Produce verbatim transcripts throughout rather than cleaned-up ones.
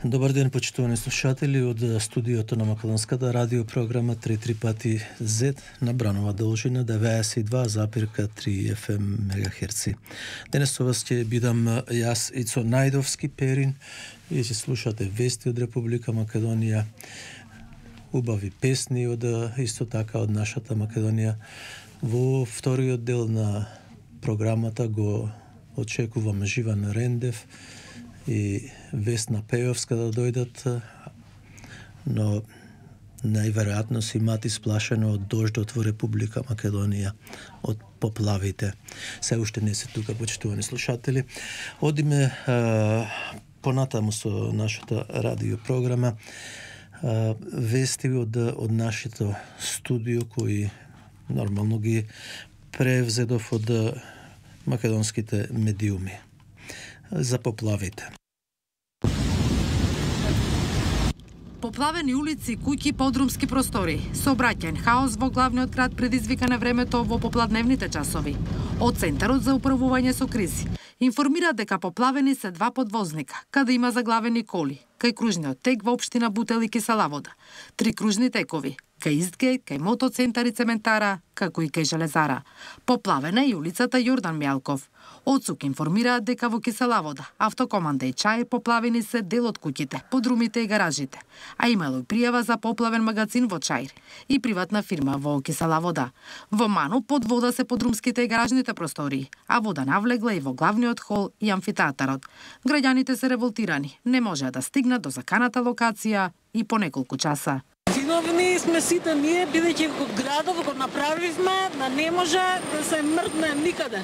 Добар ден, почитувани слушатели од студиото на Македонската радиопрограма три три пати зет на бранова должина деветдесет и два запирка три еф ем мегахерци. Денес со вас ќе бидам јас Ицо Најдовски Перин и ќе слушате вести од Република Македонија, убави песни од исто така од нашата Македонија. Во вториот дел на програмата го очекувам Живан Рендев и Весна Пејовска да дојдат, но најверојатно си имат исплашено од дождот во Република Македонија, од поплавите. Се уште не се тука, почитувани слушатели. Одиме а, понатаму со нашата радиопрограма. А, вести од, од нашето студио, кои нормално ги превзедов од македонските медиуми за поплавите. Поплавени улици, куќи, подрумски простори, сообраќајен хаос во главниот град предизвика на времето во попладневните часови. Од Центарот за управување со кризи информира дека поплавени се два подвозника, каде има заглавени коли, кај кружниот тек во општина Бутел и Киселавода, три кружни текови, кај Истгејт, кај Мотоцентар и Цементара, како и кај Железара. Поплавена и улицата Јордан Мјалков. Одсук информираат дека во Киселавода, Автокоманда и Чаир поплавени се дел од куќите, подрумите и гаражите, а имало и пријава за поплавен магазин во Чаир и приватна фирма во Киселавода. Во Ману под вода се подрумските и гаражните простории, а вода навлегла и во главниот хол и амфитеатарот. Граѓаните се револтирани, не можеа да стигнат до заканата локација и по неколку часа. Виновни сме сите ние, бидејќи го градов го направивме, да не може да се мрдне никаде.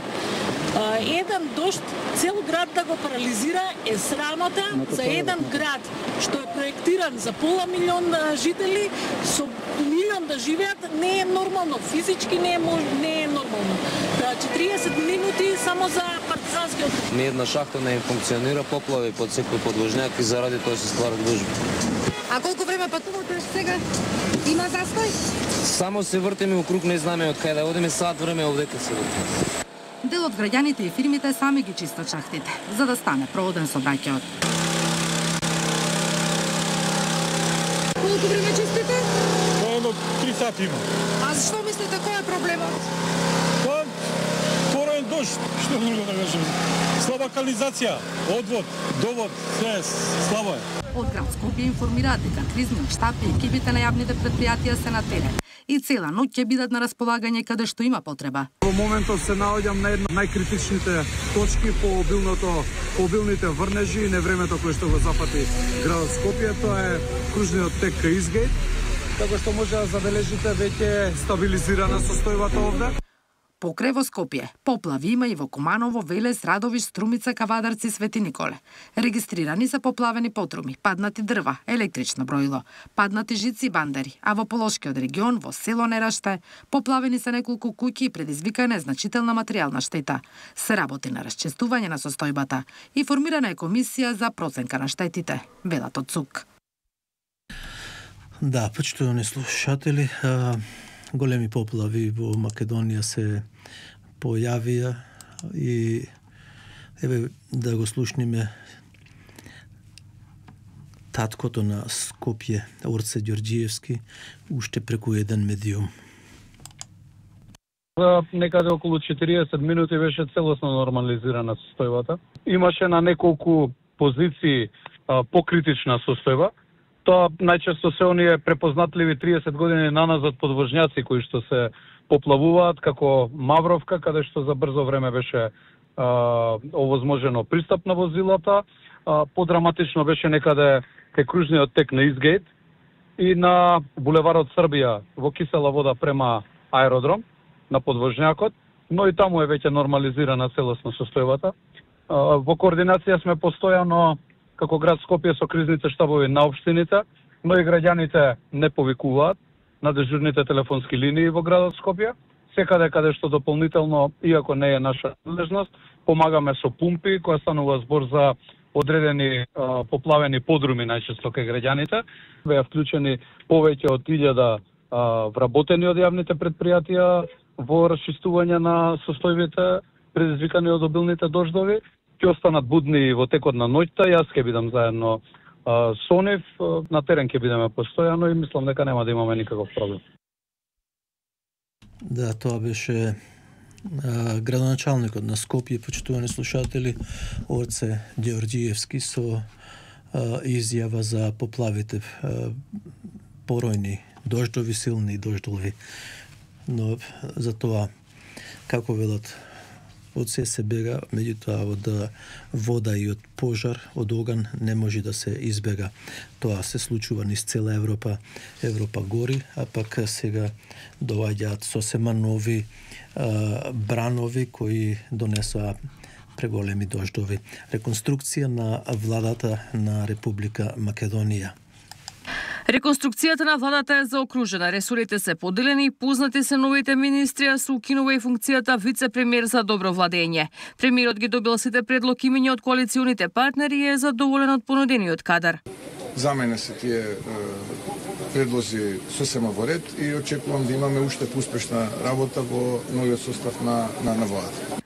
Еден дожд цел град да го парализира е срамота за еден град што е проектиран за пола милион жители, со милион да живеат, не е нормално, физички не е, не е нормално. четириесет минути само за партизанскиот. Ни една шахта не функционира, поплави под секој подложњак и заради тоа се стварат гужви. А колку време патувате сега? Има застој? Само се вртиме у круг, не знаме од кај да одиме, сат време овдека се вртиме. Дел од граѓаните и фирмите сами ги чистат шахтите, за да стане проводен сообраќајот. Колку време чистите? Едно три сати има. А зашто мислите кој е проблемот? Па, пораен дожд, што друго да кажем. Слаба канализација, одвод, довод, се слабо е. Од град Скопје информираат дека кризниот штаб и екипите на јавните предпријатија се на терен и цела ноќ ќе бидат на располагање каде што има потреба. Во моментот се наоѓам на една најкритичните точки по обилното, по обилните врнежи и невремето кое што го запати градот Скопје, тоа е кружниот тек кај Истгејт, како што може да забележите веќе стабилизирана состојбата овде. Покрај во Скопје, поплави има и во Куманово, Велес, Радовиш, Струмица, Кавадарци, Свети Николе. Регистрирани се поплавени потруми, паднати дрва, електрично броило, паднати жици и бандери, а во Полошкиот регион, во село Нераште, поплавени се неколку куќи и предизвикана е значителна материјална штета. Се работи на расчистување на состојбата и формирана е комисија за проценка на штетите, велат од ЦУК. Да, почитувани слушатели, големи поплави во Македонија се појавија и еве да го слушниме таткото на Скопје, Орце Ѓорѓиевски, уште преку еден медиум. За некаде околу четириесет минути беше целосно нормализирана состојбата. Имаше на неколку позиции а, покритична состојба. Тоа најчесто се оние препознатливи триесет години наназад подвожњаци кои што се поплавуваат, како Мавровка, каде што за брзо време беше а, овозможено пристап на возилата. А, подраматично беше некаде кај кружниот тек на Истгејт и на булеварот Србија во Киселавода према аеродром на подвожњакот, но и таму е веќе нормализирана целосно состојбата. А, во координација сме постојано како град Скопје со кризните штабови на општините, но и граѓаните не повикуваат на дежурните телефонски линии во градот Скопје. Секаде каде што дополнително, иако не е наша надлежност, помагаме со пумпи, која станува збор за одредени а, поплавени подруми најчесто кај граѓаните. Беа вклучени повеќе од илјада вработени од јавните предпријатија во расчистување на состојбите предизвикани од обилните дождови. Ќе останат будни во текот на ноќта. Јас ќе бидам заедно Со нив на терен ќе бидеме постојано и мислам дека нема да имаме никаков проблем. Да, тоа беше а, градоначалникот на Скопје, почитувани слушатели, Орце Ѓорѓиевски со а, изјава за поплавите, а, поројни дождови, силни дождови. Но за тоа, како велат, од се се бега, меѓутоа од вода и од пожар, од оган не може да се избега. Тоа се случува низ цела Европа. Европа гори, а пак сега доаѓаат сосема нови а, бранови кои донесоа преголеми дождови. Реконструкција на владата на Република Македонија. Реконструкцијата на владата е заокружена, ресорите се поделени, познати се новите министри, а се укинува и функцијата вице-премиер за добро владење. Премиерот ги добил сите предлог имења од коалиционите партнери и е задоволен од понудениот кадар. За мене се тие е, предлози сосема во ред и очекувам да имаме уште успешна работа во новиот состав на, на, на владата.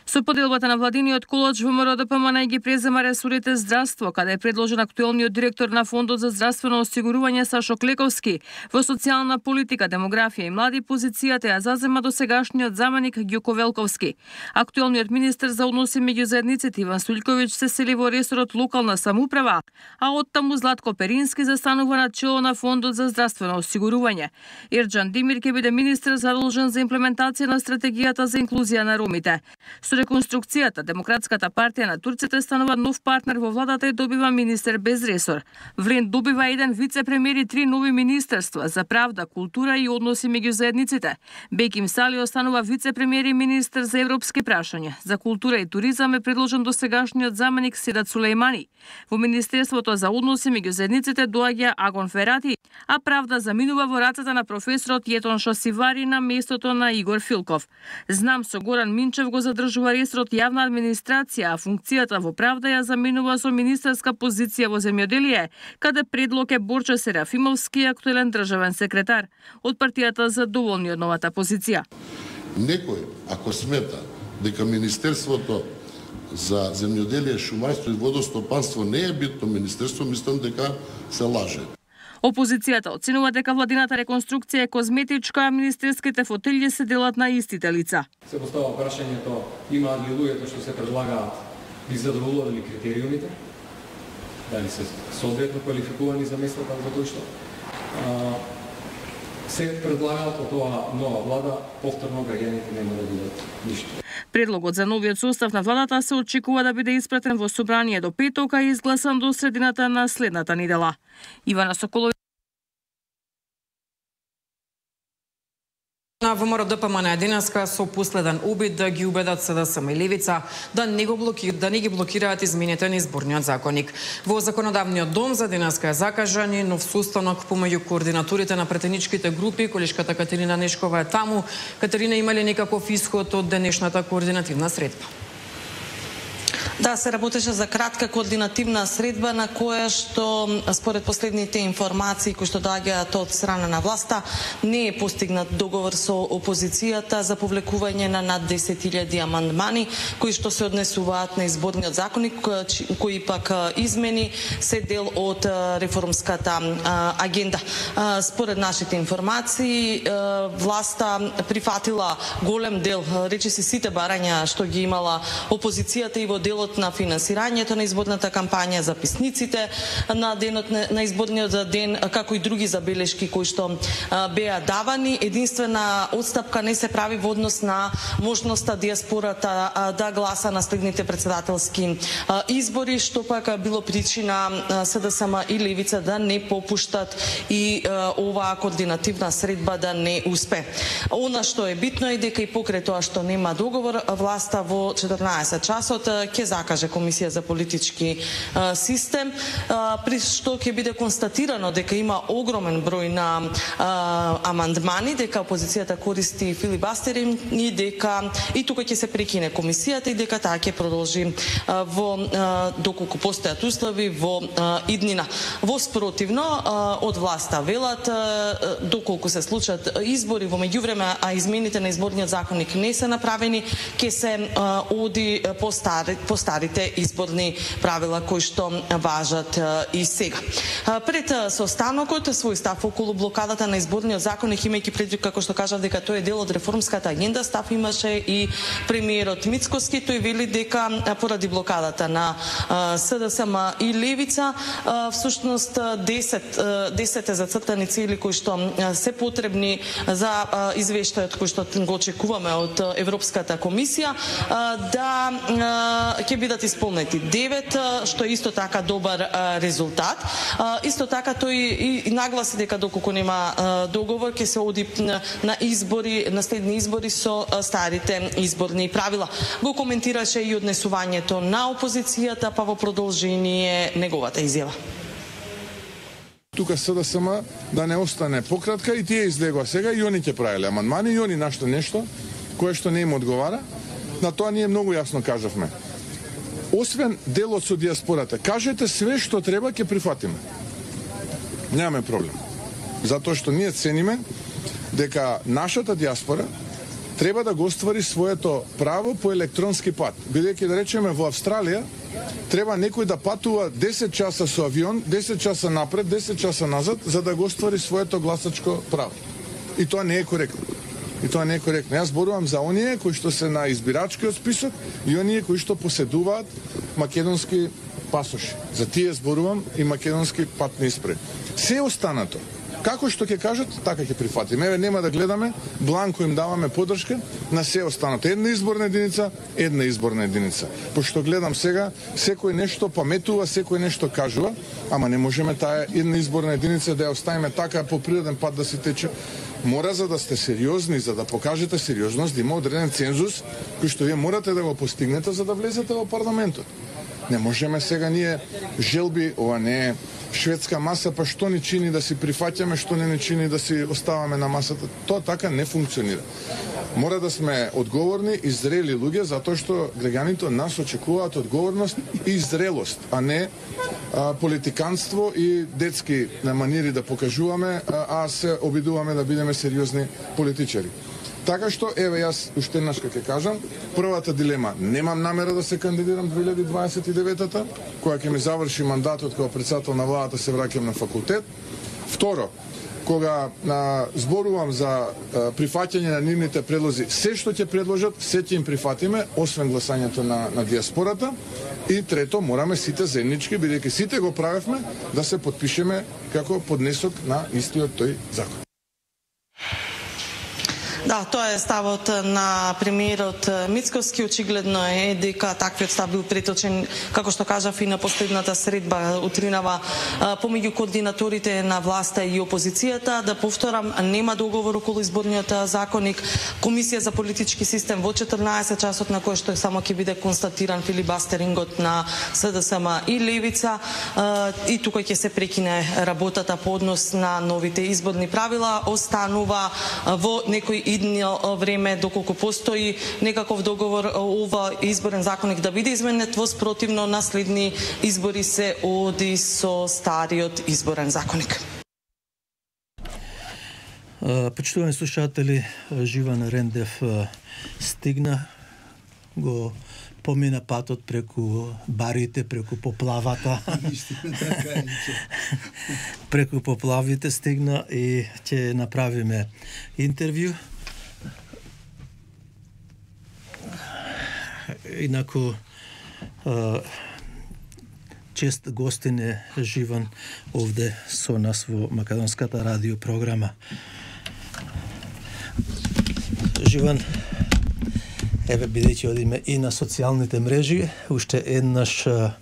Со поделбата на владиниот колоч ВМРО ДПМН ги презема ресорите здравство, каде е предложен актуелниот директор на Фондот за здравствено осигурување Сашо Клековски. Во социјална политика, демографија и млади позицијата ја зазема досегашниот заменик Ѓуко Велковски. Актуелниот министер за односи меѓу заедниците Иван Стојковиќ се сели во ресорот локална самоуправа, а оттаму Златко Перински застанува на чело на Фондот за здравствено осигурување. Ерџан Димир ќе биде министер задолжен за имплементација на стратегијата за инклузија на ромите. Со реконструкцијата, Демократската партија на турците станува нов партнер во владата и добива министер без ресор. Влен добива еден вице-премиер и три нови министерства за правда, култура и односи меѓу заедниците. Беким Сали останува вице-премиер и министер за европски прашања. За култура и туризам е предложен досегашниот заменик Седат Сулејмани. Во Министерството за односи меѓу заедниците доаѓа Агон Ферати, а правда заминува во рацете на професорот Јетон Шосивари на местото на Игор Филков. Знам со Горан Минчев го задржува ресорот јавна администрација, а функцијата во правда ја заминува со министерска позиција во земјоделие, каде предлог е Борче Серафимовски, актуелен државен секретар. Од партијата задоволни од новата позиција. Некој, ако смета дека Министерството за земјоделие, шумарство и водостопанство не е битно министерство, мислам дека се лаже. Опозицијата оценува дека владината реконструкција е козметичка, а министерските фотелји се делат на истите лица. Се постава прашањето, имаат ли луѓето што се предлагаат ги задоволували критериумите? Дали се соодветно квалификувани за местата за кои што а, се предлагаат од тоа нова влада, повторно граѓаните нема да бидат ништо. Предлогот за новиот состав на владата се очекува да биде испратен во собрание до петок, а изгласан до средината на следната недела. Ивана Соколова На ВМРО ДПМН денеска со последен обид да ги убедат СДСМ и Левица да не го блокираат, да не ги блокираат измените на изборниот законник. Во законодавниот дом за денеска е закажан и нов состанок помеѓу координаторите на претеничките групи. Колешката Катерина Нешкова е таму. Катерина, има ли некаков исход од денешната координативна средба? Да, се работеше за кратка координативна средба на која што според последните информации кои што доаѓаат од страна на власта не е постигнат договор со опозицијата за повлекување на над десет илјади амандмани кои што се однесуваат на изборниот законник, кои пак измени се дел од реформската агенда. Според нашите информации власта прифатила голем дел, речиси сите барања што ги имала опозицијата и во делот на финансирањето на изборната кампања, записниците на денот на изборниот ден, како и други забелешки кои што беа давани. Единствена отстапка не се прави во однос на можноста диаспората да гласа на следните председателски избори, што пак било причина СДСМ и Левица да не попуштат и оваа координативна средба да не успе. Она што е битно е дека и покрај тоа што нема договор, власта во четрнаесет часот ќе закаже Комисија за политички а, систем, а, при што ќе биде констатирано дека има огромен број на а, амандмани, дека опозицијата користи филибастерин и дека и тука ќе се прекине комисијата и дека таа ќе продолжи а, во а, доколку постојат услови во а, иднина. Во спротивно а, од власта велат а, доколку се случат избори во меѓувреме, а измените на изборниот законник не се направени, ќе се а, оди по стари по старите изборни правила кои што важат и сега. Пред состанокот свој став околу блокадата на изборниот законник, имајќи предвид како што кажав дека тој е дел од реформската агенда, став имаше и премиерот Мицкоски. Тој вели дека поради блокадата на СДСМ и Левица, всушност десет десет зацртани цели кои што се потребни за извештајот кој што го очекуваме од Европската комисија, да ќе бидат исполнети девет, што е исто така добар резултат. Исто така тој и нагласи дека доколку нема договор ќе се оди на избори, на следни избори со старите изборни правила. Го коментираше и однесувањето на опозицијата, па во продолжение неговата изјава. Тука СДСМ да не остане пократка и тие излегува сега и они ќе правеле амандмани и они нашто нешто кое што не им одговара. На тоа ние многу јасно кажавме. Освен делот со диаспората, кажете све што треба, ќе прифатиме. Немаме проблем. Затоа што ние цениме дека нашата диаспора треба да го оствари своето право по електронски пат. Бидејќи да речеме во Австралија треба некој да патува десет часа со авион, десет часа напред, десет часа назад за да го оствари своето гласачко право. И тоа не е коректно. И тоа не е коректно. Јас зборувам за оние кои што се на избирачкиот список и оние кои што поседуваат македонски пасоши. За тие зборувам и македонски патни исправи. Се останато, како што ќе кажат, така ќе прифатиме. Еве, нема да гледаме, бланко им даваме поддршка на се останато. Една изборна единица, една изборна единица. Пошто гледам сега, секој нешто паметува, секој нешто кажува, ама не можеме таа една изборна единица да ја оставиме така по природен пат да си тече. Мора, за да сте сериозни, за да покажете сериозност, да има одреден цензус кој што вие морате да го постигнете за да влезете во парламентот. Не можеме сега ние желби, ова не е шведска маса, па што ни чини да си прифаќаме, што не ни чини да си оставаме на масата. Тоа така не функционира. Мора да сме одговорни и зрели луѓе, затоа што граѓаните од нас очекуваат одговорност и зрелост, а не а, политиканство и детски манири да покажуваме, а, а се обидуваме да бидеме сериозни политичари. Така што, еве, јас уште еднаш ќе кажам, првата дилема, немам намера да се кандидирам две илјади дваесет и девета, која ќе ми заврши мандатот како председател на владата, се враќам на факултет. Второ, кога а, зборувам за а, прифаќање на нивните предлози, се што ќе предложат, се ќе им прифатиме, освен гласањето на, на диаспората. И трето, мораме сите заеднички, бидејќи сите го правевме, да се подпишеме како поднесок на истиот тој закон. Да, тоа е ставот на премиерот Мицкоски. Очигледно е дека таквиот став бил преточен, како што кажав, и на последната средба утринава помеѓу координаторите на власта и опозицијата. Да повторам, нема договор околу изборниот законник. Комисија за политички систем во четрнаесет часот, на кој што само ќе биде констатиран филибастерингот на СДСМ и Левица, и тука ќе се прекине работата по однос на новите изборни правила. Останува во некој идно време, доколку постои некаков договор, ова изборен законник да биде изменет, во спротивно на следни избори се оди со стариот изборен законник. Почитувани слушатели, Живан Рендев стигна, го помина патот преку барите, преку поплавата. Преку поплавите стигна и ќе направиме интервју. Инаку чест гостин е Живан овде со нас во македонската радио програма. Живан, еве, бидејќи одиме и на социјалните мрежи, уште еднаш а,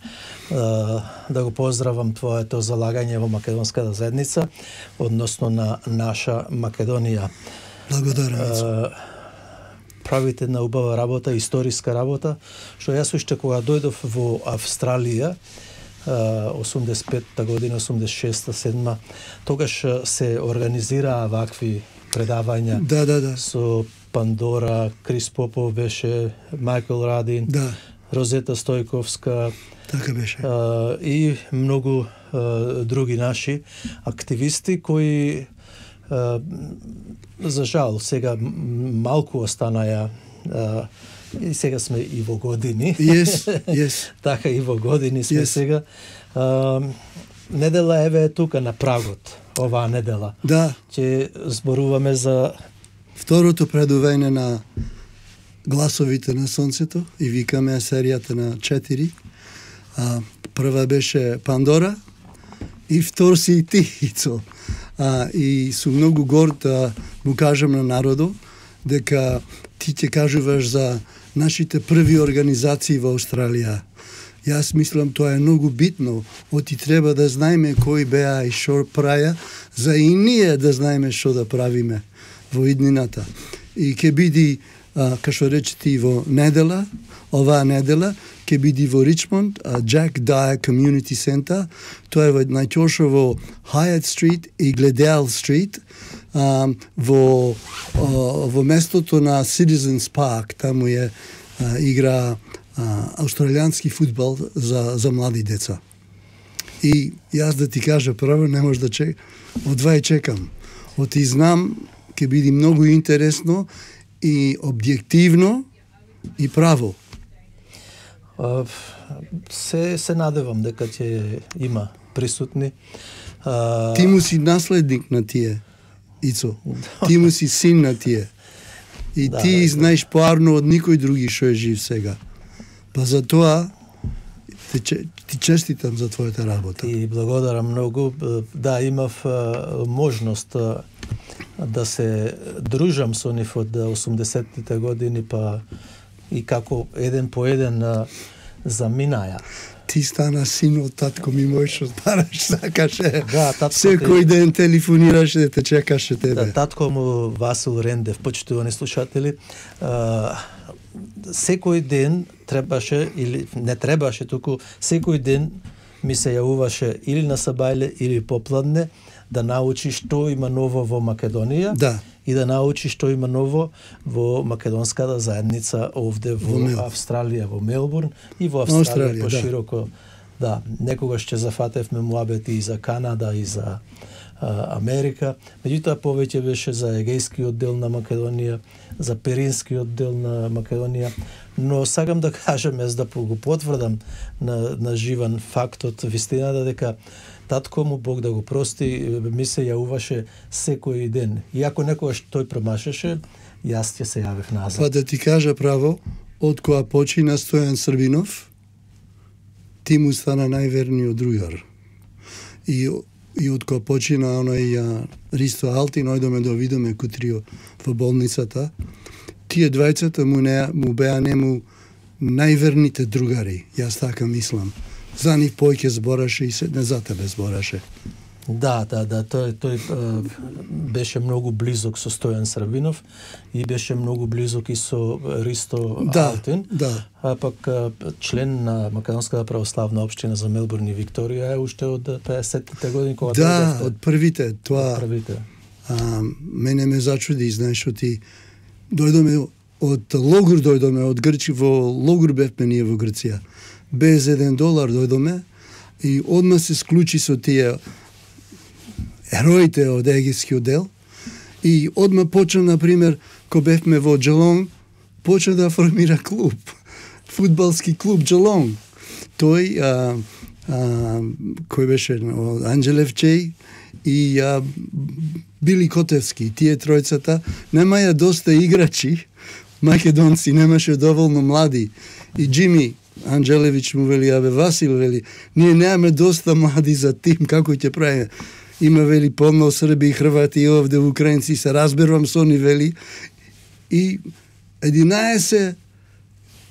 да го поздравам твоето залагање во македонската заедница, односно на наша Македонија. Благодарам. Правите на убава работа, историска работа, што јас уште кога дојдов во Австралија, осумдесет и петта година, осумдесет и шеста, седма, тогаш се организираа вакви предавања. Да, да, да. Со Пандора, Крис Попов беше, Мајкл Радин, да. Розета Стојковска, така беше. А, и многу а, други наши активисти кои а, за жал сега малку останаја а, И сега сме и во години. Yes, yes. Така и во години сме Yes. сега. А, недела еве е тука на прагот. Оваа недела. Да. Ќе зборуваме за второто предување на Гласовите на сонцето и викаме серијата на четири. А, прва беше Пандора и втор си и ти, Ицо. А, и сум многу горд да му кажам на народо дека ти ќе кажуваш за нашите први организации во Австралија. Јас мислам тоа е многу битно, оти треба да знаеме кои беа и шо праја, за и ние да знаеме што да правиме во иднината. И ќе биде, како што речете, во недела, оваа недела, ќе биде во Ричмонд, Jack Dyer Community Center, тоа е во најчоше во Hyatt Street и Glendale Street, а, во, а, во местото на Citizens Park, таму е а, игра а, австралијански фудбал за, за млади деца. И јас да ти кажа право, не може да чек, одва и чекам. Оти знам, ќе биде многу интересно и објективно и право. Uh, се се надевам дека ќе има присутни. Uh, Ти му си наследник на тие, Ицо. Ти му си син на тие. И да, ти да, знаеш поарно од никој други што е жив сега. Па за тоа ти, ти честитам за твојата работа. И благодарам многу. Да, имав uh, можност uh, да се дружам со нив од осумдесеттите години, па и како еден по еден а, заминаја. Ти стана син од татко ми мој, што бараш сакаше. Да, татко секој ден телефонираше да те чекаше тебе. Да, татко му Васил Рендев, почитувани слушатели, а, секој ден требаше или не требаше, туку секој ден ми се јавуваше или на сабајле или попладне да научи што има ново во Македонија. Да. И да научи што има ново во македонската заедница овде во, во Австралија, во Мелбурн и во Австралија, Австралија пошироко. Да. да, некогаш ќе зафатевме муабети и за Канада и за а, Америка. Меѓутоа повеќе беше за егејскиот дел на Македонија, за перинскиот дел на Македонија, но сакам да кажам, за да го потврдам на, на живан фактот, вистината дека татко му, Бог да го прости, ми се јавуваше секој ден. И ако некогаш тој промашеше, јас ќе се јавев назад. Па да ти кажа право, од која почина Стојан Србинов, ти му стана најверниот другар. И, и од која почина оној а, Ристо Алтин, ојдоме да видиме кутрио во болницата, тие двајцата му, не, му беа нему најверните другари, јас така мислам. За нив појќе збораше и се не за тебе збораше. Да, да, да, тој тој е, беше многу близок со Стојан Србинов и беше многу близок и со Ристо да, Алтин. Да. А пак член на Македонската православна општина за Мелбурн и Викторија е уште од педесеттите години кога да, дојдовте. од првите, тоа. Од првите. А, мене ме зачуди, знаеш, што ти дојдоме од логор, дојдоме од Грчи, во логор бевме ние во Грција. Без еден долар дојдоме и одма се склучи со тие ероите од егејскиот дел и одма почна, например, кога бевме во Джелонг, почна да формира клуб, фудбалски клуб Джелонг. Тој, а, а, кој беше, Анџелев Чеј и а, Били Котевски, тие тројцата, немаја доста играчи, македонци, немаше доволно млади. И Джими Анџелевич му вели, абе Васил вели, ние немаме доста млади за тим, како ќе правиме? Има вели полно Срби и Хрвати и овде Украинци, се разберувам со ни вели. И единаесет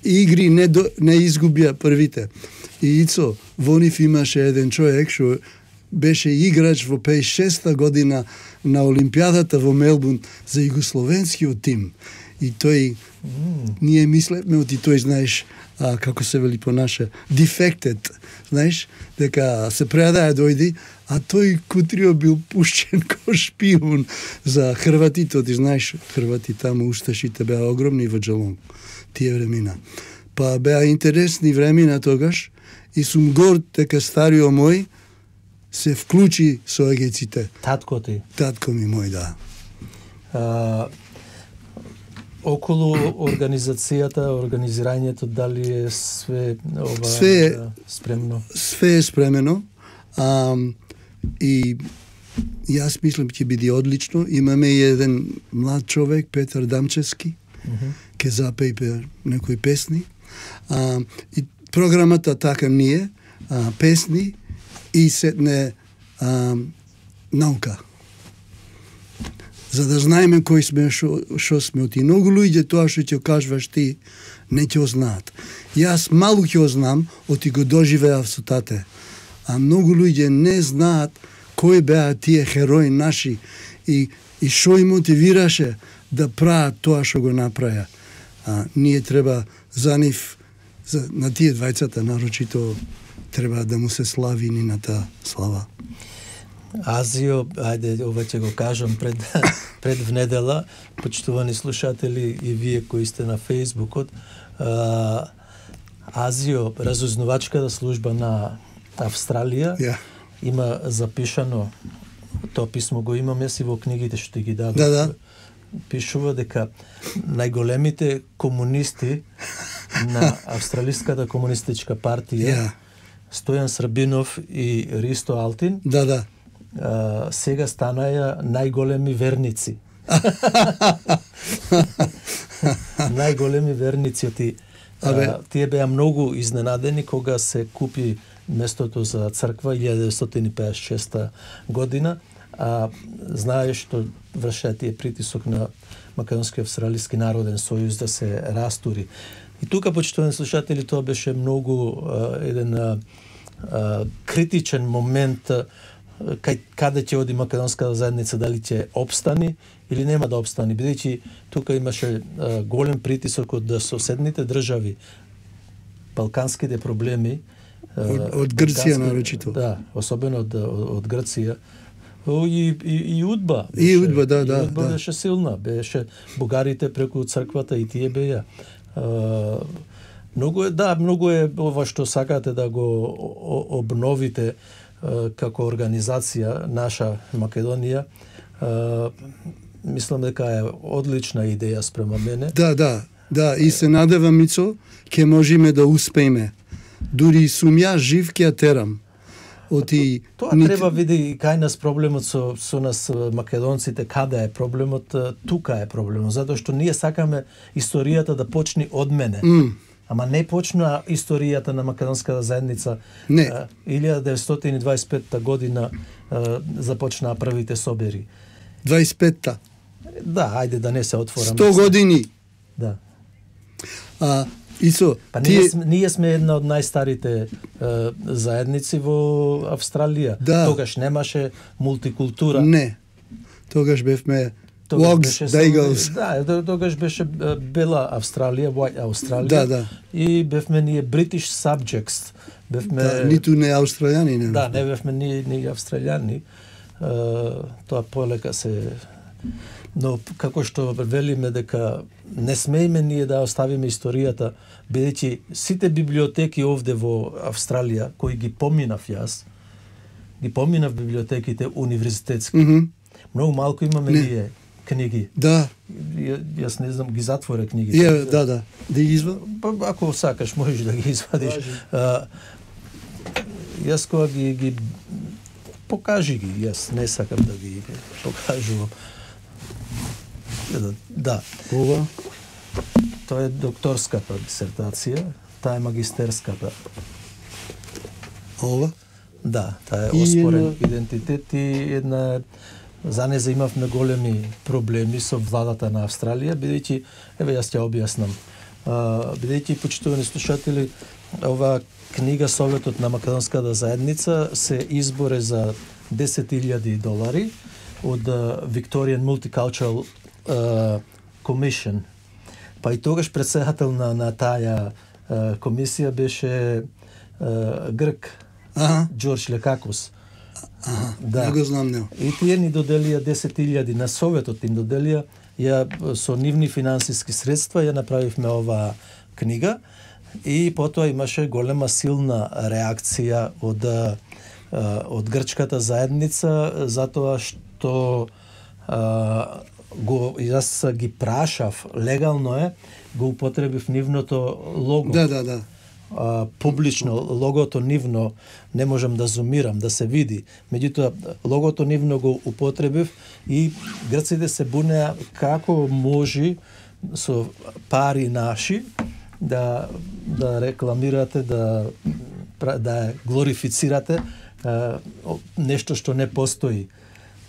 игри не, до, не изгубија првите. И Ицо, во нив имаше еден човек што беше играч во пеесет и шеста година на Олимпијадата во Мелбурн за југословенскиот тим. И тој, mm. ние мислевме, оти тој, знаеш, а, како се вели по наше, defected, знаеш, дека се предаја дојди, а тој кутрио бил пушчен ко шпион за хрватите, оти знаеш, хрвати таму усташите беа огромни во Джелонг, тие времена. Па беа интересни времена тогаш и сум горд дека стариот мој се вклучи со егејците. Татко ти? Татко ми мој, да. А, околу организацијата, организирањето, дали е све ова све е, спремно? Све е спремено. А, и јас мислам ќе биде одлично. Имаме и еден млад човек, Петар Дамчевски, Mm-hmm. ке запејпе некои песни. А, и програмата така ние, а, песни и сетне а, наука. За да знаеме кои сме, шо, шо сме оти. Многу луѓе тоа што ќе кажуваш ти, не ќе знаат. Јас малку ќе знам, оти го доживеав со тате. А многу луѓе не знаат кои беа тие херои наши и и што им мотивираше да прават тоа што го направија. А ние треба за нив, за, на тие двајцата нарочито треба да му се слави нината слава. Азио, ајде, ова ќе го кажам пред, пред внедела, почитувани слушатели и вие кои сте на Фейсбукот, а, Азио, разузнавачката служба на Австралија, yeah. има запишано, тоа писмо го имам јас и во книгите што ги дадов. Да, да. Пишува дека најголемите комунисти на Австралиската комунистичка партија, yeah. Стојан Србинов и Ристо Алтин, да, да. Uh, сега станаја најголеми верници. Најголеми верници оти. Uh, тие беа многу изненадени кога се купи местото за црква илјада деветстотини и пеесет и шеста година, а знаеш што вршеа тие притисок на Македонски австралиски народен сојуз да се растури. И тука, почитувани слушатели, тоа беше многу uh, еден uh, uh, критичен момент кај каде ќе оди македонската заедница, дали ќе обстани или нема да обстани, бидејќи тука имаше а, голем притисок од соседните држави, балканските проблеми, а, од, од Грција нарочито. Да, особено од, од Грција. И, и, и Удба. Беше, и Удба, да, да. И Удба да. беше силна, беше бугарите преку црквата и тие беа. А, многу е, да, многу е ова што сакате да го обновите како организација наша Македонија. Мислам дека е одлична идеја спрема мене. Да, да, да, и се надевам, Мицо, ќе можеме да успееме. Дури сум ја жив ќе ја терам. Оти тоа нит... треба види кај нас проблемот со со нас македонците, каде е проблемот, тука е проблемот, затоа што ние сакаме историјата да почне од мене. Mm. Ама не почна историјата на македонската заедница. Не. илјада деветстотини дваесет и петта година започнаа првите собери. дваесет и петта. Да, ајде да не се отворам. сто години. Да. А, Исо, па тие... ние, ние сме една од најстарите е, заедници во Австралија. Да. Тогаш немаше мултикултура. Не. Тогаш бевме Wogs, Daigles. Да, тогаш беше бела Австралија, White Австралија. Да, да. И бевме ние British subjects. Бевме... Да, ниту не австралијани. Не да, не бевме ни, ни австралијани. Uh, тоа полека се... Но како што велиме дека не смееме ние да оставиме историјата, бидејќи сите библиотеки овде во Австралија, кои ги поминав јас, ги поминав библиотеките универзитетски. Mm -hmm. Многу малку имаме не. ние книги. Да. Ја, јас не знам, ги затворе книгите. Yeah, да, да. Да ги извадиш? Па, ако сакаш, можеш да ги извадиш. А, јас кога ги, ги покажи ги, јас не сакам да ги покажувам. Да. Ова? Тоа е докторската дисертација, таа е магистерската. Ова? Да, таа е оспорен една... идентитет и една... За неја имавме големи проблеми со владата на Австралија, бидејќи, еве јас ќе објаснам, бидејќи, почитувани слушатели, ова книга Советот на Македонската заедница се изборе за десет илјади долари од Victorian Multicultural uh, Commission. Па и тогаш председател на, на таа uh, комисија беше uh, грк, ага. Џорџ Лекакос. Ага, да. Не го знам него. И тие ни доделија десет илјади, на Советот им доделија, ја со нивни финансиски средства ја направивме оваа книга и потоа имаше голема силна реакција од од грчката заедница затоа што а, го јас ги прашав, легално е, го употребив нивното лого. Да, да, да. А, публично логото нивно не можам да зумирам, да се види. Меѓутоа логото нивно го употребив и грците се бунеа како може со пари наши да да рекламирате, да да глорифицирате а, нешто што не постои.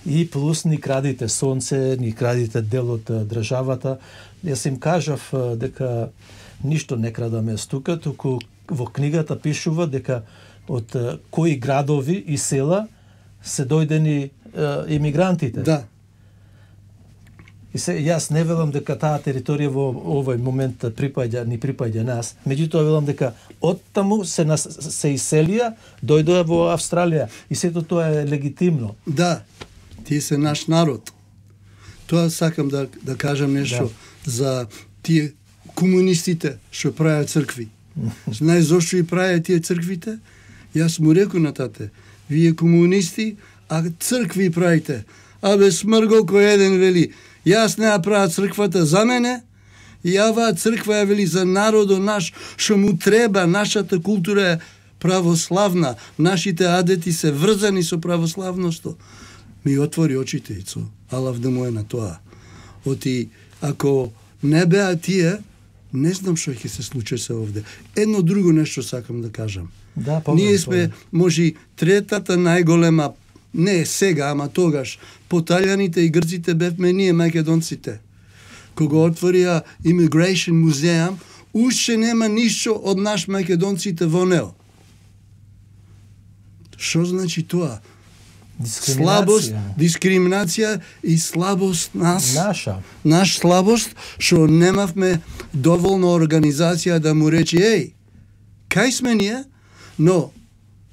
И плюс ни крадите сонце, ни крадите дел од државата. Јас им кажав дека ништо не крадаме стука, туку во книгата пишува дека од кои градови и села се дојдени е, имигрантите. Да. И се јас не велам дека таа територија во овој момент припаѓа, ни припаѓа нас. Меѓутоа велам дека оттаму се нас, се иселија, дојдоа во Австралија и сето тоа е легитимно. Да. Тие се наш народ. Тоа сакам да да кажам нешто да. За тие комунистите што правеа цркви. Знаеш зошто и правеа тие црквите? Јас му реков на тате, вие комунисти, а цркви правите. Абе смргол кој еден вели, јас не ја правя црквата за мене, и аваа црква ја вели за народот наш, што му треба, нашата култура е православна, нашите адети се врзани со православноста. Ми отвори очите, Ицо, алав да му е на тоа. Оти, ако не беа тие, не знам што ќе се случи се овде. Едно друго нешто сакам да кажам. Да, ние сме, може, третата најголема, не сега, ама тогаш, по Италијаните и грците бевме ние македонците. Кога отворија Immigration музеум, уште нема ништо од наш македонците во него. Што значи тоа? Слабост, дискриминација и слабост нас. Наша. Наш слабост, што немавме доволно организација да му рече, еј, кај сме ние? Но,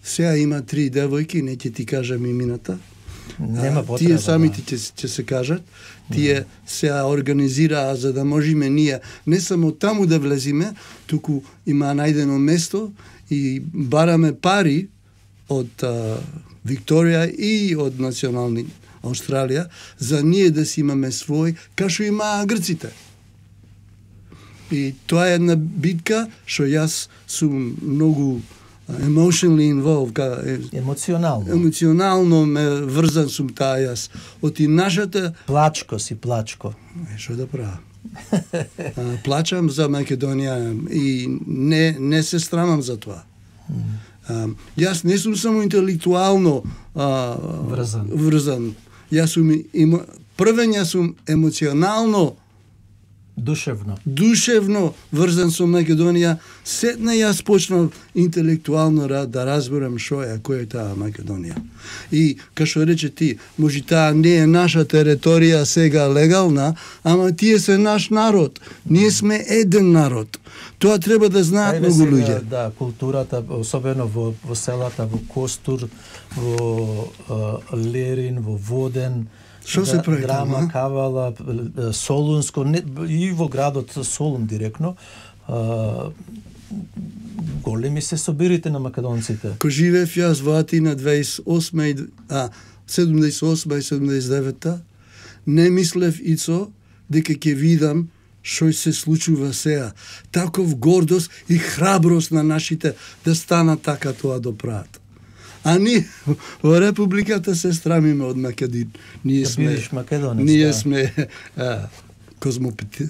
сега има три девојки, не ќе ти кажам имината. Нема потреба. Тие самите ќе, ќе се кажат. Тие се организираа за да можеме ние не само таму да влезиме, туку има најдено место и бараме пари од а, Викторија и од национални Австралија, за ние да си имаме свој, кашо имаа грците. И тоа е една битка што јас сум многу emotionally involved, ка, емоционално. Емоционално ме врзан сум таа јас. Оти нашата плачко си плачко. Е, што да правам? Плачам за Македонија и не не се срамам за тоа. А, јас не сум само интелектуално а, врзан. врзан. Јас сум има, првен јас сум емоционално душевно. Душевно врзан со Македонија. Сетна јас почнав интелектуално да разберам што е, кој е таа Македонија. И како што рече ти, може таа не е наша територија сега легална, ама тие се наш народ. Ние сме еден народ. Тоа треба да знаат многу луѓе. Да, културата, особено во, во селата, во Костур, во uh, Лерин, во Воден, Што се прави Драма, там, Кавала, Солунско, не, и во градот Солун директно, а, големи се собирите на македонците. Ко живеев јас во Атина дваесет и осма, а, седумдесет и осма и седумдесет и девета, не мислев, Ицо, дека ќе видам што се случува сега. Таков гордост и храброст на нашите да станат така тоа да прават. А ние во Републиката се страмиме од Македонија. Ние да сме македонец. Ние да. сме а,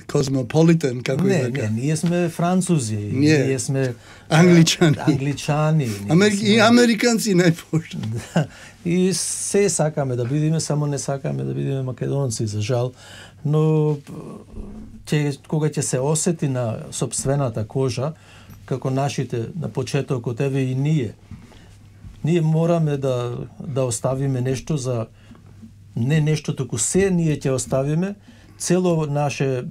космополитен, како не, е така. Не, ние сме французи, ние, ние сме англичани. Англичани. Амер... сме... И американци најпошто. Да. И се сакаме да бидеме, само не сакаме да бидеме македонци, за жал. Но ќе, кога ќе се осети на сопствената кожа, како нашите на почетокот, еве и ние, ние мораме да да оставиме нешто за не нешто, туку се ние ќе оставиме цело наше е, е,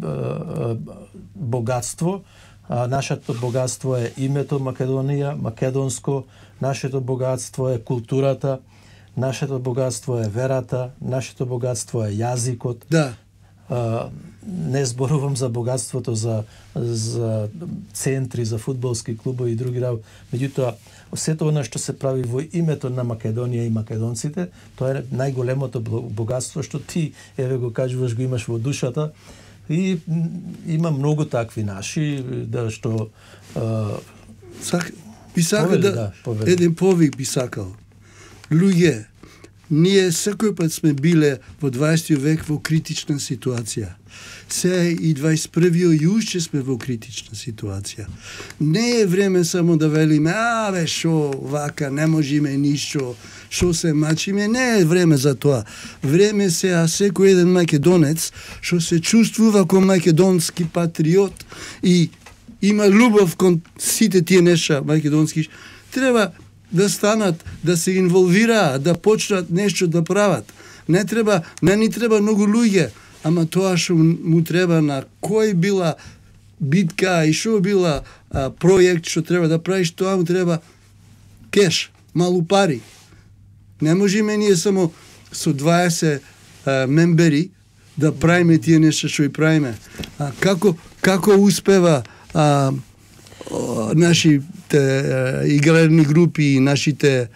богатство. А, нашето богатство е името Македонија, македонско, нашето богатство е културата, нашето богатство е верата, нашето богатство е јазикот. Да. а, не зборувам за богатството, за, за центри, за фудбалски клубови и други работи. Меѓутоа, сето она што се прави во името на Македонија и македонците, тоа е најголемото богатство што ти, еве го кажуваш, го имаш во душата. И има многу такви наши, да што... А, Сак, би сакал повели, да, да еден повик би сакал. Луѓе, ние секој пат сме биле во дваесети век во критична ситуација. Се и дваесет и првиот и уште сме во критична ситуација. Не е време само да велиме, а бе, шо, вака, не можеме ништо, шо се мачиме, не е време за тоа. Време се, а секој еден македонец, што се чувствува како македонски патриот и има љубов кон сите тие нешта македонски, треба да станат, да се инволвираат, да почнат нешто да прават. Не треба, не ни треба многу луѓе, ама тоа што му треба на кој била битка и што била а, проект што треба да правиш, тоа му треба кеш, малу пари. Не можеме ние само со дваесет а, мембери да правиме тие нешта што и правиме. А како како успева а, о, нашите а, игрални групи и нашите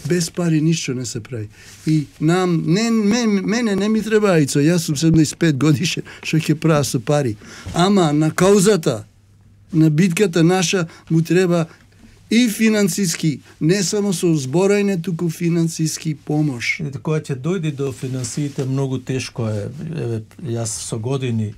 без пари ништо не се прави. И нам не мен, мене не ми треба ицо, јас сум седумдесет и пет годишен, што ќе правя со пари. Ама на каузата, на битката наша му треба и финансиски, не само со зборање, туку финансиски помош. И кога ќе дојде до финансиите, многу тешко е. Еве, јас со години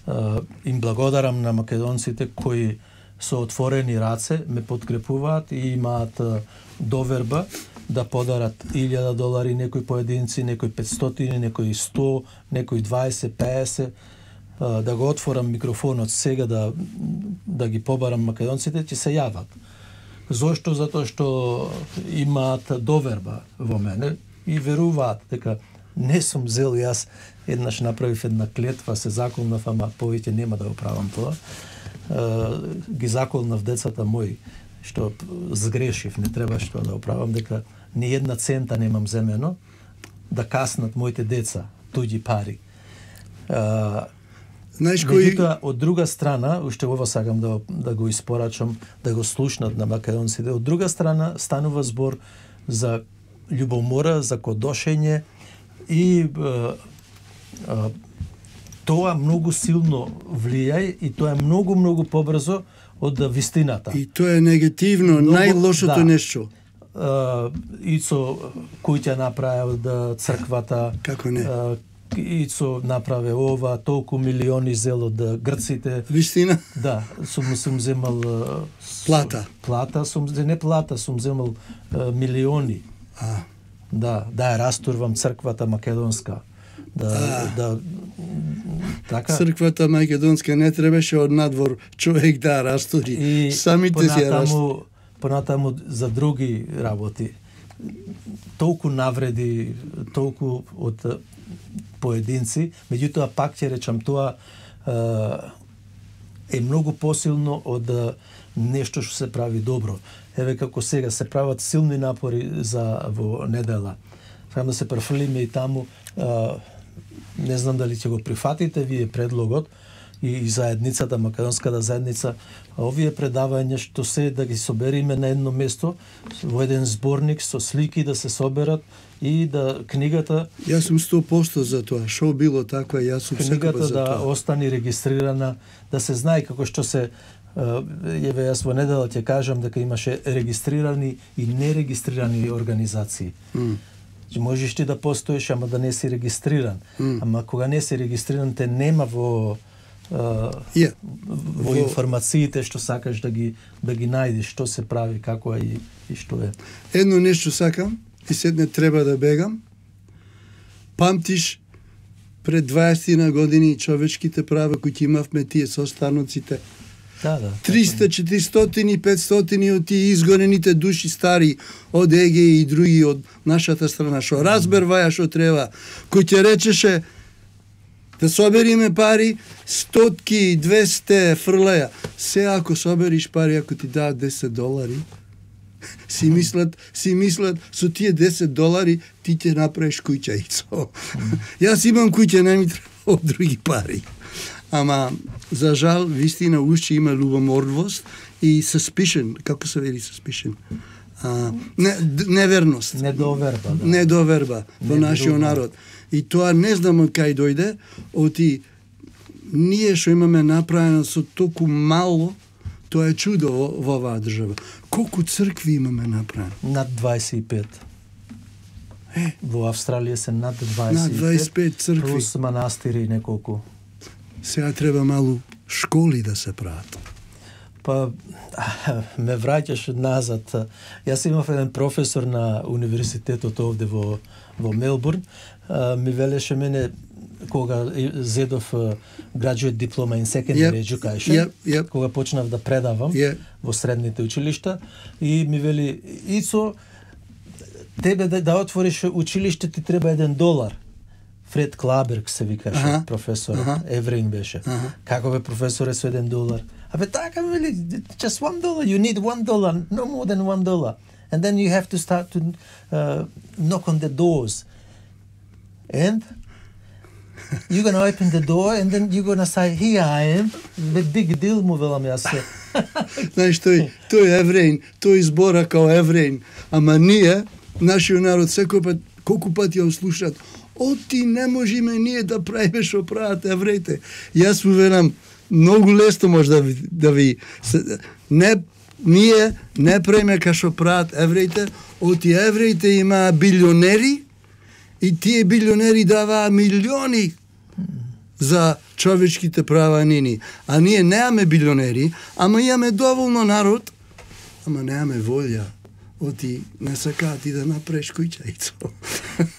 а, им благодарам на македонците кои со отворени раце ме подкрепуваат и имаат а, доверба да подарат илјада долари, некои поединци, некои петстотини, некои сто, некои дваесет, пеесет, да го отворам микрофонот сега да да ги побарам македонците, ќе се јават. Зошто? Затоа што имаат доверба во мене и веруваат дека не сум зел, јас еднаш направив една клетва, се заколнав, ама повеќе нема да го правам тоа. Ги заколнав децата мои, што сгрешив, не требаше тоа да оправам, дека ни една цента немам земено, да каснат моите деца, туѓи пари. А, Знаеш кој... Меѓутоа, од друга страна, уште ова сакам да, да го испорачам, да го слушнат на македонците, од друга страна станува збор за љубомора, за кодошење и а, а, тоа многу силно влијае и тоа е многу, многу побрзо од вистината. И тоа е негативно, многу, најлошото да. Нешто. Uh, Ицо Куќа направил да црквата, како не? Uh, Ицо направи ова, толку милиони зел од грците. Вистина? Да, сум сум земал плата. Плата, сум не плата, сум земал uh, милиони. А. Да, да ја растурвам црквата македонска. Да, а. да така. Црквата македонска не требаше од надвор човек да растури. И самите си ја растури. Понатаму за други работи. Толку навреди, толку од поединци, меѓутоа пак ќе речам тоа е многу посилно од нешто што се прави добро. Еве како сега се прават силни напори за во недела. Сакам да се префрлиме и таму, не знам дали ќе го прифатите вие предлогот, и заедницата, македонската заедница, овие предавања што се да ги собериме на едно место, во еден зборник со слики да се соберат и да книгата... Јас сум сто проценти за тоа, шо било таква, јас сум секој за да тоа. остане регистрирана, да се знае како што се... Еве, јас во недела ќе кажам дека имаше регистрирани и нерегистрирани организации. Mm. Можеш ти да постоиш, ама да не си регистриран. Mm. Ама кога не си регистриран, те нема во... Uh, yeah. во информациите што сакаш да ги да ги најдеш, што се прави, како е и, и што е. Едно нешто сакам и седне треба да бегам. Памтиш пред дваесет години човечките права кои имавме тие со станоците. Да, да. триста, четиристотини, петстотини од тие изгонените души стари од Егеј и други од нашата страна што разберваја што треба, кој ќе речеше да собериме пари, стотки, двесте фрлаја. Се ако собериш пари, ако ти дадат десет долари, си мислат, си мислат, со тие десет долари ти ќе направиш куќа ицо. Јас имам куќа, не ми треба од други пари. Ама, за жал, вистина уште има љубомордвост и suspicion, како се вели suspicion? А, не, неверност. Недоверба, да. Недоверба во нашиот народ. И тоа не знам од кај дојде, оти ние што имаме направено со толку мало, тоа е чудо во, во оваа држава. Колку цркви имаме направено? Над дваесет и пет. Е, во Австралија се над дваесет и пет, над дваесет и пет цркви. Плюс манастири неколку. Сега треба малу школи да се прават. Па, ме враќаш назад. Јас имав еден професор на универзитетот овде во, во Мелбурн. Ми велеше мене, кога зедов graduate diploma in secondary yep. education, yep. Yep. кога почнав да предавам yep. во средните училишта, и ми вели, Ицо, тебе да, да отвориш училиште ти треба еден долар. Фред Клаберг се викаше, uh-huh. професор, uh-huh. евреин беше. Uh-huh. Како бе професоре со еден долар? Абе така вели, just one dollar, you need one dollar, no more than one dollar. And then you have to start to uh, knock on the doors. And you're gonna open the door and then you're gonna say, here I am, the big deal, му велам јас се. Знаеш, тој, тој евреин, тој збора као евреин, ама ние, нашиот народ, секој пат, колку пати ја услушат, оти не можеме ние да правиме што прават евреите. Јас му велам, многу лесно може да ви, да ви не, ние не правиме ка што прават евреите, оти евреите имаа билионери и тие билионери даваа милиони за човечките права нини. А ние неаме билионери, ама имаме доволно народ, ама неаме волја. Оти не сакаат и да направиш куќајцо.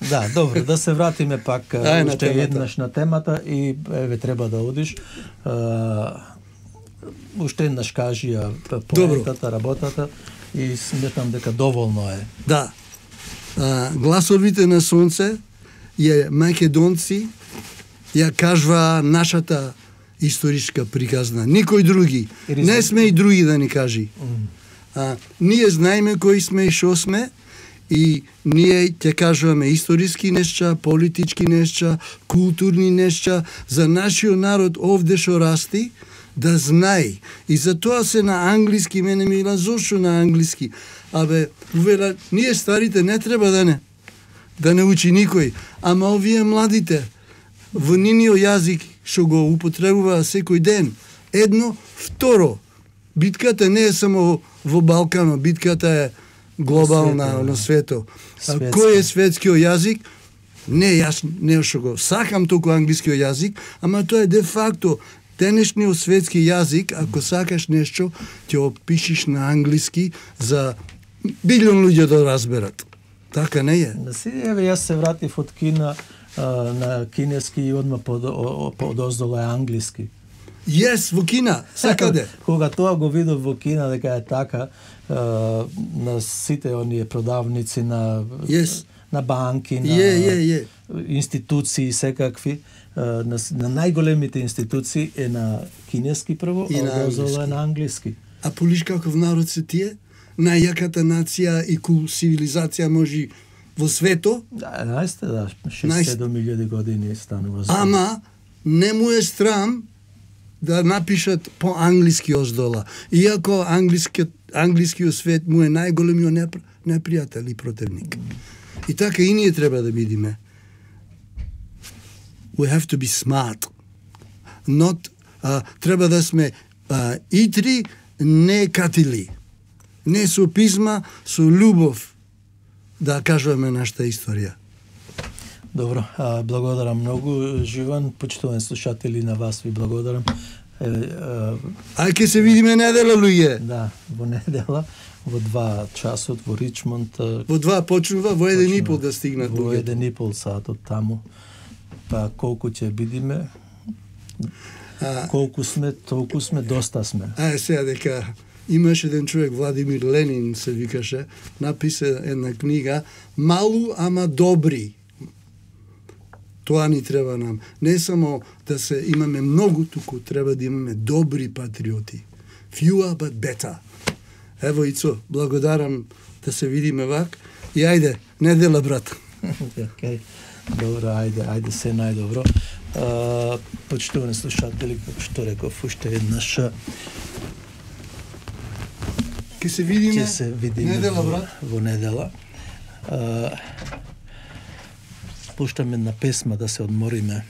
Да, добро, да се вратиме пак Ај, уште еднаш на темата и еве треба да одиш. Uh, уште еднаш кажи ја поентата, работата и сметам дека доволно е. Да. Uh, гласовите на сонце е македонци ја кажва нашата историчка приказна. Никој други. Не сме и други да ни кажи. Mm. А, ние знаеме кои сме и шо сме и ние ќе кажуваме историски нешта, политички нешта, културни нешта за нашиот народ овде шо расти, да знае. И за тоа се на англиски, мене ми ила зошто на англиски. Абе, увела, ние старите не треба да не да не учи никој, ама овие младите во ниниот јазик што го употребува секој ден. Едно, второ, битката не е само во Балкано, битката е глобална свето, на свето. Светски. Кој е светскиот јазик? Не, јас не што го сакам толку англискиот јазик, ама тоа е де факто денешниот светски јазик, ако сакаш нешто, ќе опишиш на англиски за билион луѓе да разберат. Така не е. Да си, еве, јас се вратив од Кина а, на кинески и одма под, под оздола е англиски. Јес, во Кина, сакаде. Кога тоа го видов во Кина дека е така, а, на сите оние продавници, на, yes. на банки, на yeah, yeah, yeah. институции секакви, а, на, на најголемите институции е на кинески прво, и а оздола е на англиски. А полиш каков народ се тие? Најјаката нација и кул цивилизација може во свето? Да, најсте, да, шест-седум илјади години станува. Ама, не му е страм да напишат по англиски оздола. Иако англискиот, англискиот свет му е најголемиот непр, непријател и противник. И така и ние треба да бидиме. We have to be smart. Not, uh, треба да сме uh, итри, не катили. Не со писма, со љубов да кажуваме нашата историја. Добро, а, благодарам многу, Живан, почитувани слушатели, на вас ви благодарам. Е, а... Ај ке се видиме недела, луѓе. Да, во недела, во два часот во Ричмонд. Во два почнува, во еден и пол да стигнат луѓето. Во еден и пол сат од таму. Па колку ќе бидиме, а... колку сме, толку сме, доста сме. Ај сега дека имаше еден човек, Владимир Ленин се викаше, написа една книга Малу, ама добри. Тоа ни треба нам. Не само да се имаме многу, туку треба да имаме добри патриоти. Fewer but better. Ево Ицо, благодарам да се видиме вак. И ајде, недела, брат. Okay. Добро, ајде, ајде се најдобро. А, почитувани слушатели, како што реков уште еднаш, ќе се видиме, ќе се видиме недела, во, брат. во недела. А, пуштаме една песма да се одмориме